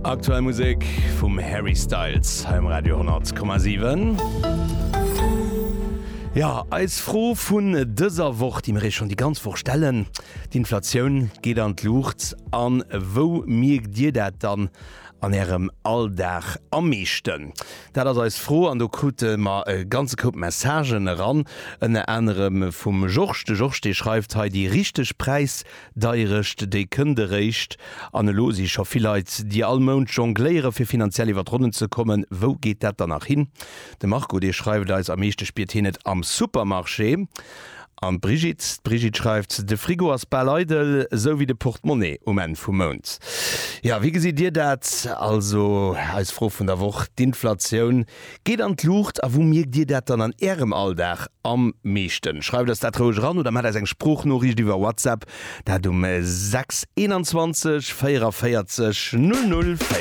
Aktuell Musek vum Harry Styles hei um Radio 10,7. Jo, eis Fro vun dëser Woch, déi mir iech schonn déi ganz Woch stellen, D'Inflatioun geet an d'Luucht. A wou mierkt Dir dat dann an Ärem Alldag am meeschten? Dat ass eis Fro an do krute mer e ganze Koup Messagen eran, ënner anerem vum Georges. De Georges, dee schreift hei, Déi richteg Präisdeierecht, déi kënnt eréischt. An elo si scho vill Leit, déi all Mount jongléiere fir finanziell iwwer d'Ronnen ze kommen. Wou geet dat dann nach hin? De Marco, dee schreift eis, Am meeschte spiert hien et am Supermarché. An d'Brigitte, d'Brigitte schreift, De Frigo ass bal eidel, esou wéi de Portemonnaie um Enn vum Mount. Jo, wéi gesitt Dir dat? Also eis Fro vun der Woch, D'Inflatioun geet an d'Luucht a wou mierkt Dir dat dann an Ärem Alldag am meeschten? Schreift eis dat roueg eran oder maacht eis eng Sproochnoriicht iwwer WhatsApp, dat um 6 21 44 00 44.